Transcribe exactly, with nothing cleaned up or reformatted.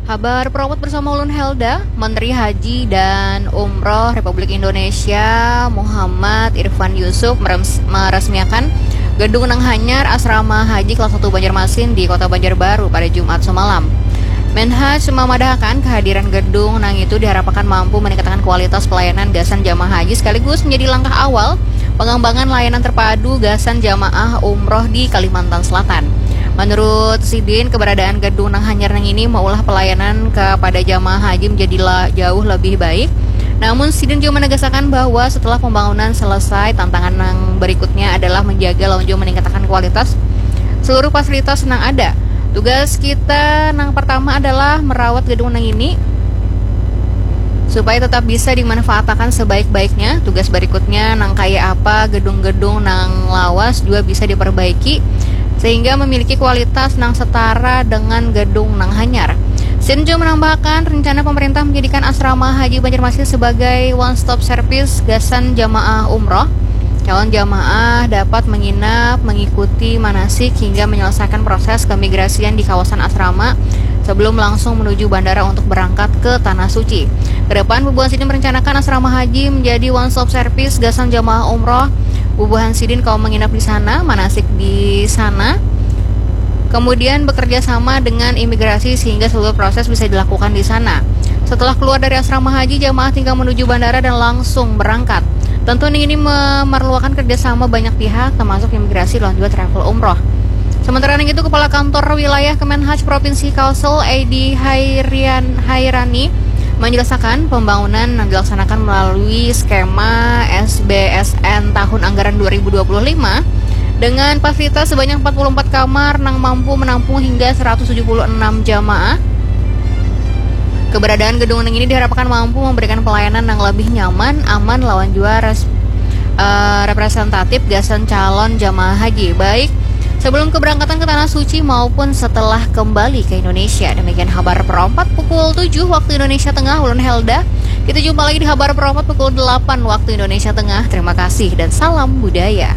Habar Propot bersama ulun Helda. Menteri Haji dan Umroh Republik Indonesia Muhammad Irfan Yusuf merems- meresmiakan gedung nang hanyar Asrama Haji Kelas satu Banjarmasin di Kota Banjarbaru pada Jumat semalam. Menhaj memadahakan kehadiran gedung nang itu diharapkan mampu meningkatkan kualitas pelayanan gasan jamaah haji sekaligus menjadi langkah awal pengembangan layanan terpadu gasan jamaah umroh di Kalimantan Selatan. Menurut sidin, keberadaan gedung nang hanyar nang ini maulah pelayanan kepada jamaah haji menjadi la- jauh lebih baik. Namun, sidin juga menegaskan bahwa setelah pembangunan selesai, tantangan yang berikutnya adalah menjaga lawan juga meningkatkan kualitas seluruh fasilitas nang ada. Tugas kita nang pertama adalah merawat gedung nang ini supaya tetap bisa dimanfaatkan sebaik-baiknya. Tugas berikutnya nang kaya apa gedung-gedung nang lawas juga bisa diperbaiki sehingga memiliki kualitas nang setara dengan gedung nang hanyar. Sidin juga menambahkan rencana pemerintah menjadikan asrama haji Banjarmasin sebagai one stop service gasan jamaah umroh. Calon jamaah dapat menginap, mengikuti manasik hingga menyelesaikan proses keimigrasian di kawasan asrama sebelum langsung menuju bandara untuk berangkat ke Tanah Suci. Kedepan, bubuhan sidin merencanakan asrama haji menjadi one stop service gasan jamaah umroh. Bubuhan sidin kawa menginap di sana, manasik di sana, kemudian bekerja sama dengan imigrasi sehingga seluruh proses bisa dilakukan di sana. Setelah keluar dari asrama haji, jamaah tinggal menuju bandara dan langsung berangkat. Tentu ini memerlukan kerjasama banyak pihak, termasuk imigrasi dan juga travel umroh. Sementara itu, Kepala Kantor Wilayah Kemenhaj Provinsi Kalsel, Edi Hairian Hairani, menjelaskan pembangunan yang dilaksanakan melalui skema S B S N tahun anggaran dua ribu dua puluh lima dengan fasilitas sebanyak empat puluh empat kamar nang mampu menampung hingga seratus tujuh puluh enam jamaah. Keberadaan gedung ini diharapkan mampu memberikan pelayanan yang lebih nyaman, aman, lawan juga res- eh, representatif gasan calon jamaah haji, baik sebelum keberangkatan ke Tanah Suci maupun setelah kembali ke Indonesia. Demikian Habar Perompat pukul tujuh waktu Indonesia Tengah, ulun Helda. Kita jumpa lagi di Habar Perompat pukul delapan waktu Indonesia Tengah. Terima kasih dan salam budaya.